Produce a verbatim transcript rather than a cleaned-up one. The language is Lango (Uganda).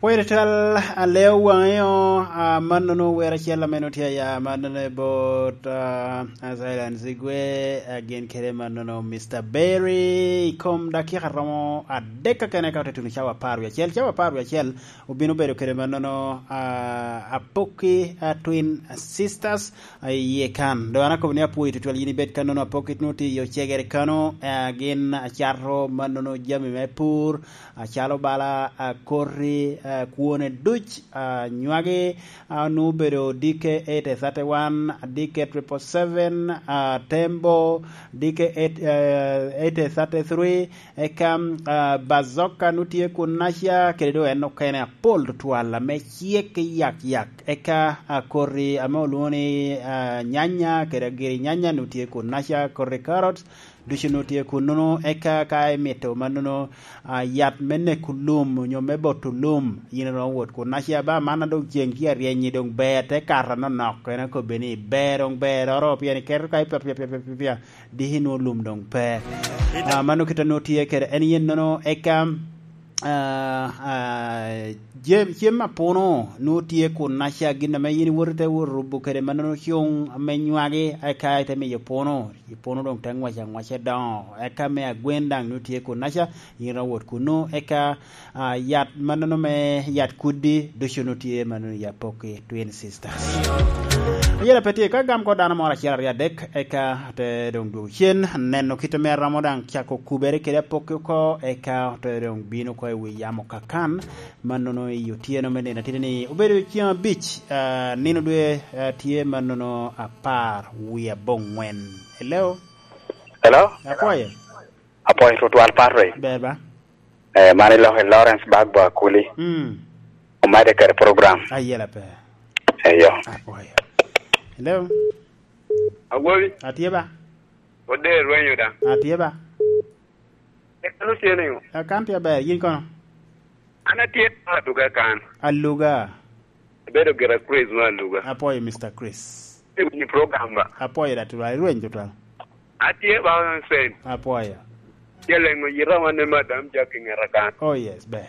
Pwod twal aleo waŋeo, ah, mannono wer acel ame nutye aya mannono i bot, ah, ah, Silence Igwe, ah, gin kede mannono Mister Berry i kom dakika romo adek kakene ka ote tuno cawa apar wie acel. Cawa apar wie acel obino bedo kede mannono, ah, Apoki, ah, Twin Sisters, ah, i yie kan. Dok an akobo ni apwoyo tutwal yin ibed kannono Apoki nutye i ocegere kano, ah, gin acato mannono jami me pur, acalo bala, ah, koti, ah, kwone duc, ah, nywagi, ah, onwoŋo obedo D K eight thirty-one, D K triple seven, ah, Tembo, D K eight, eh, eight thirty-three, eka, ah, Bazooka onwoŋo tye kun naca, kede doŋ en okene apol tutwal ame cek i yak yak. Eka, ah, koti ame olwoŋo ni, ah, nyanya, kede agiri nyanya onwoŋo tye kun naca, koti carrots, ducu onwoŋo tye kunnono, eka ka imito mannono, ah, yat me neko lum onyo me boto lum, yin iromo wot kun. Naci aba man a doŋ ceŋ tye aryeny-nyi doŋ ber te kato anonok, en akobbe ni ber doŋ beroro, pien iketo ka ipia, pia, pia, pia, pia, pia, diki nwoŋo lum doŋ pe. Ah, mano kite nwoŋo tye kede en yennono, eka, ah, ah, jem-, cem apuno nwoŋo tye kun naca gin ame yin iwoto ite wot rubo kede mannono cuŋ ame nywagi, eka ite miyo puno. I puno doŋ te ŋwac aŋwaca doŋo. Eka me agwen daŋ nwoŋo tye kunnaca, yin iromo wot kunnu. Eka, ah, yat mannono me yat kuddi ducu nwoŋo tye mannono i Apoki Twin Sisters. Ayela pe tye ka gam ko dano moro acel aryo adek, eka te doŋ dwogo cen, neno kit ame aromo daŋ cako kubere kede Apoki oko, eka te doŋ bino oko i wi yamo kakan, mannono i otyeno me nino atidi ni obedo ceŋ abic, ah, nino dwe, ah, tye mannono apar wie aboŋwen. Hello? Hello? Apwoyo. Apwoyo tutwal, Patrick. Ber ba? Eh, man iloke Lawrence Bagbo Akuli. Mm. Omade kede program. Ayela pe. Eyo. Apwoyo. Hello? Awobi. Atye ba? Ode rwenyo da. Atye ba? Eka no tye niŋo? Akan tye aber, yin kono? An atye aluga kan. Aluga. Abedo gira Chris me aluga. Apwoyo, Mister Chris. Iwinyo program ba? Apwoyo da tutwal, irweny tutwal. Atye ba sen. Apwoyo. Jaleŋo yita wan ne Madam Jack i ŋeta kan. Oh yes, ber.